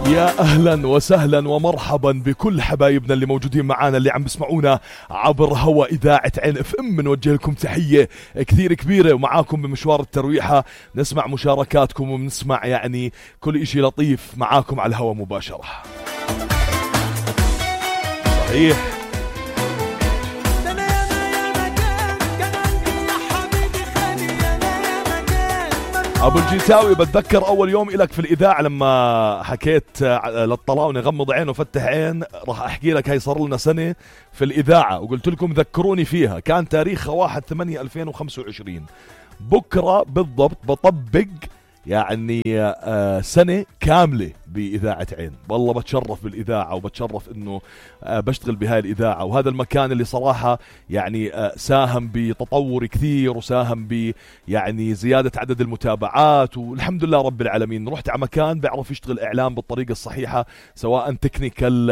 يا أهلا وسهلا ومرحبا بكل حبايبنا اللي موجودين معانا اللي عم بسمعونا عبر هوا إذاعة عين اف ام. نوجه لكم تحية كثير كبيرة ومعاكم بمشوار الترويحة، نسمع مشاركاتكم ونسمع يعني كل إشي لطيف معاكم على الهوا مباشرة. صحيح أبو الجيتاوي، بتذكر أول يوم إلك في الإذاعة لما حكيت للطلاونة غمض عين وفتح عين، راح أحكي لك هاي صار لنا سنة في الإذاعة وقلت لكم ذكروني فيها، كان تاريخها 1/8/2025. بكرة بالضبط بطبق يعني سنة كاملة بإذاعة عين. والله بتشرف بالإذاعة وبتشرف إنه بشتغل بهاي الإذاعة، وهذا المكان اللي صراحة يعني ساهم بتطور كثير وساهم ب يعني زيادة عدد المتابعات، والحمد لله رب العالمين. رحت على مكان بيعرف يشتغل إعلام بالطريقة الصحيحة، سواء تكنيكال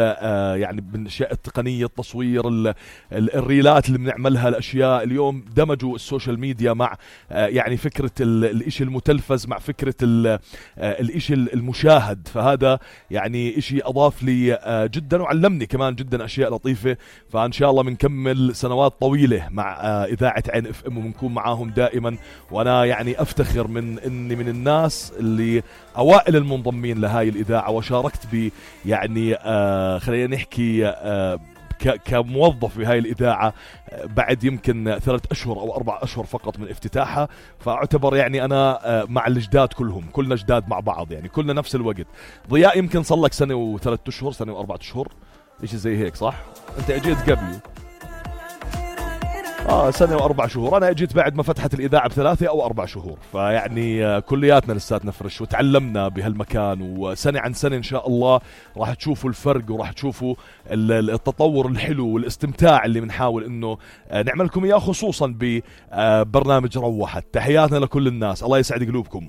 يعني بالأشياء التقنية، التصوير، الريلات اللي بنعملها، الأشياء اليوم دمجوا السوشيال ميديا مع يعني فكرة الإشي المتلفز مع فكرة الإشي المشاهد. فهذا يعني إشي أضاف لي جدا وعلمني كمان جدا أشياء لطيفة. فإن شاء الله بنكمل سنوات طويلة مع إذاعة عين اف ام وبنكون معاهم دائما. وأنا يعني أفتخر إني من الناس اللي أوائل المنضمين لهاي الإذاعة، وشاركت ب يعني خلينا نحكي كموظف بهاي الإذاعة بعد يمكن 3 أشهر أو 4 أشهر فقط من افتتاحها. فأعتبر يعني أنا مع الجداد كلهم، كلنا جداد مع بعض، يعني كلنا نفس الوقت. ضياء يمكن صلك 1 و3 أشهر، 1 و4 أشهر، إيش زي هيك صح؟ أنت أجيت قبلي 1 و4 شهور، أنا أجيت بعد ما فتحت الإذاعة ب3 أو 4 شهور. فيعني كلياتنا لساتنا فرش وتعلمنا بهالمكان، وسنة عن سنة إن شاء الله راح تشوفوا الفرق وراح تشوفوا التطور الحلو والاستمتاع اللي بنحاول إنه نعملكم إياه، خصوصا ببرنامج روحت. تحياتنا لكل الناس، الله يسعد قلوبكم.